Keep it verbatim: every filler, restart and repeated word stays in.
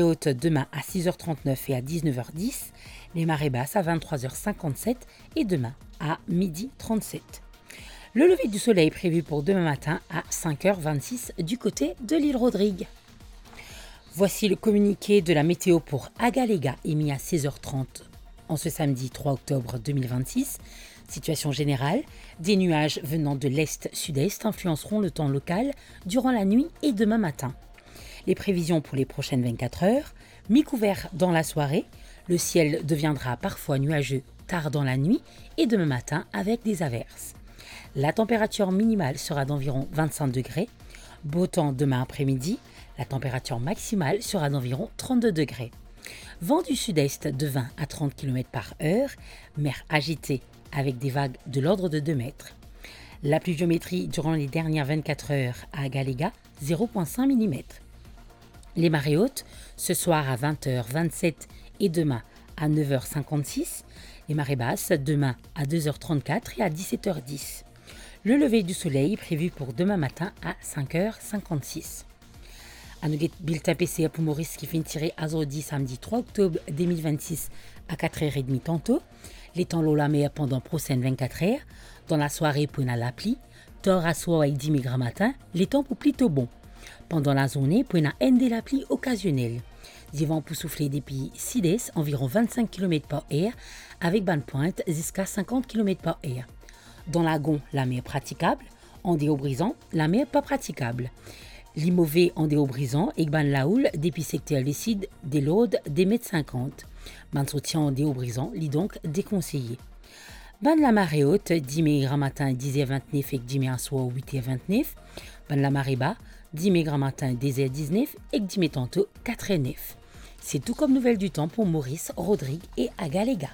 Haute demain à six heures trente-neuf et à dix-neuf heures dix, les marées basses à vingt-trois heures cinquante-sept et demain à midi trente-sept. Le lever du soleil prévu pour demain matin à cinq heures vingt-six du côté de l'île Rodrigue. Voici le communiqué de la météo pour Agalega émis à seize heures trente en ce samedi trois octobre deux mille vingt-six. Situation générale, des nuages venant de l'est-sud-est influenceront le temps local durant la nuit et demain matin. Les prévisions pour les prochaines vingt-quatre heures, mi-couvert dans la soirée, le ciel deviendra parfois nuageux tard dans la nuit et demain matin avec des averses. La température minimale sera d'environ vingt-cinq degrés. Beau temps demain après-midi, la température maximale sera d'environ trente-deux degrés. Vent du sud-est de vingt à trente kilomètres par heure, mer agitée avec des vagues de l'ordre de deux mètres. La pluviométrie durant les dernières vingt-quatre heures à Agalega, zéro point cinq millimètres. Les marées hautes, ce soir à vingt heures vingt-sept et demain à neuf heures cinquante-six. Les marées basses, demain à deux heures trente-quatre et à dix-sept heures dix. Le lever du soleil prévu pour demain matin à cinq heures cinquante-six. Anou get biltin PCR pou Moris ki finn tire azordi samedi trois octobre deux mille vingt-six à quatre heures et demie tanto. Letan lor lamer pandan prosenn vingt-quatre heures. Dan lasware pou ena lapli, tar aswar ek dime gramatin, letan pou plito bon. Pandan lazourne pou ena enn de lapli okazionel. Divan pou soufle depi sid-est anviron vingt-cinq kilomèt par heure, avek bann pwint ziska cinquante kilomèt par heure. Dan Lagon, lamer pratikab, andeor Brizan, lamer pa pratikab. Li move andeor Brizan ek bann laoul depi sekter lesid de lord de met sinkant. Bann sorti andeor Brizan, li donk dekonseye. Bann lamare ot, dime gramatin diz er vintnef ek dime aswar wit er vintnef. Bann lamare ba, dime gramatin de zer diznef ek dime tanto kat er nef. Se tou kom nouvel ditan pou Moris, Rodrig e Agalega.